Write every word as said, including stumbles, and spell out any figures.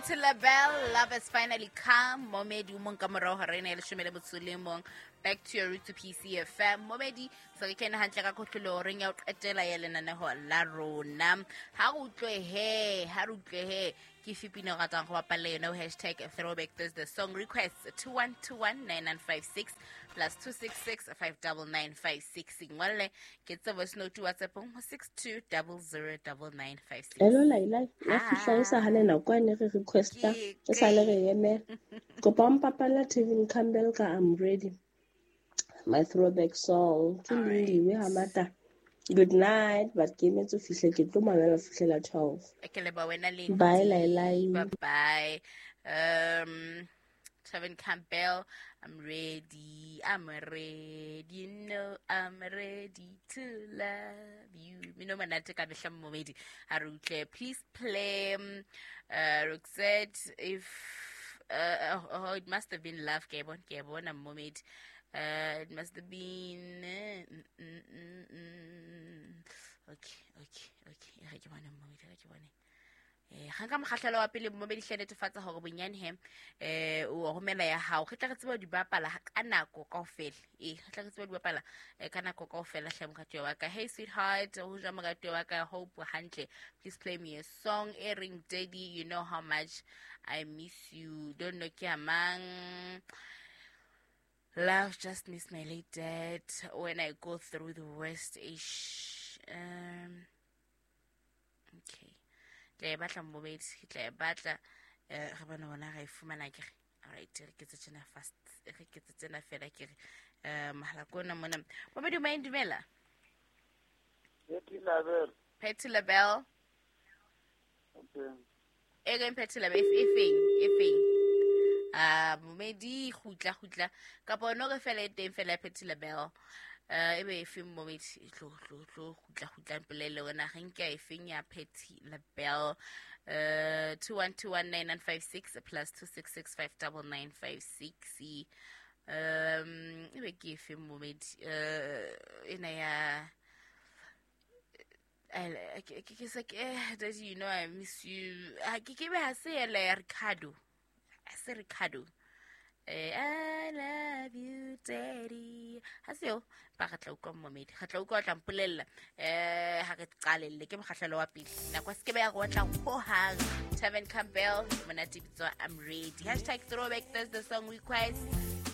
Patti LaBelle, love has finally come. Momedi o mong ka morao hora ena ya leshome le motso le mong. Back to your root to P C F M. Momedi, se re kene hantle ka kotlolo horeng ya ho qetela ya lenaneho la rona. Ha re utlwe he, ha re utlwe he. Ke efe pina o ratang ho bapalla yona ho hashtag throwback Thursday song requests two one two one nine nine five six plus two six six five double nine five six. Ngwalle ke tse voice note WhatsApp-ong ho six two double zero double nine five six. Hello Laila, ya fihla e sa hane nako ane re requesta, e sa le re emela. Kopa o mpapalla Tevin Campbell ka I'm Ready. My throwback song. Ke Lindiwe Hamata. Good night, but ke emetse ho fihla ke tlo mamela ho fihlela twelve. Ke leboha wena Lindy. Bye, Laila. Bye bye. Um, Tevin Campbell, I'm ready. I'm ready. You know I'm ready to love you. Mino monate ka mehla momedi. Ha re utlwe. Please play, um, uh, Roxette, if, uh, oh, oh, it must have been love. Ke bona, ke bona momedi. Uh, it must have been, uh, mm, mm, mm, mm. Okay, okay, okay. E re ke bone momedi, e re ke bone. Eh, ga nka mokgahlelo wa pele momedi hle netefatsa hore bonyane he, eh, o romela ya hao. Re tla re tseba ho di bapala ka nako kaofela. Eh, re tla re tseba ho di bapala, eh, ka nako kaofela hle moratuwa wa ka. Hey sweetheart, ho jwang moratuwa wa ka? Hope o hantle. Please play me a song e reng Daddy, you know how much I miss you. Don't know ke ya mang. Love just miss my late dad when I go through the worst ish. Um, okay. Tla e batla momedi, ke tla e batla, eh, re bone hona ra e fumana ke re. All right, re ke tse tjena fast, re ke tse tsena fela ke re. Eh, mohala ke ona mona. Momedi o maeng, dumela. Patti LaBelle. Patti LaBelle. Okay. E reng Patti LaBelle, e feng, e feng? Ah, momedi, kgutla, kgutla. Kapa ono re fela e teng fela ya Patti LaBelle. Eh, ebe e feng momedi? Tlo, tlo, tlo, kgutla, kgutla, mpolelle hore na re nke e feng ya Patti LaBelle. Eh, two one two one nine nine five six plus two six six five double nine five six. Um, ebe ke e feng momedi? Eh, ena ya, eh, ke, ke, ke se ke, eh, Daddy, you know I miss you. Ah, ke, ke be ha se ela ya Ricardo. Ha se Ricardo. Eh, I love you, Daddy. Ha se eo, ba re tla utlwa momedi. Re tla utlwa o tla mpolella. Eh, ha re qalelle, ke mokgahlelo wa pele. Nako e se ke be ya re otla hohang. Tevin Campbell, monate bitswa I'm Ready. Hashtag throwback Thursday song request.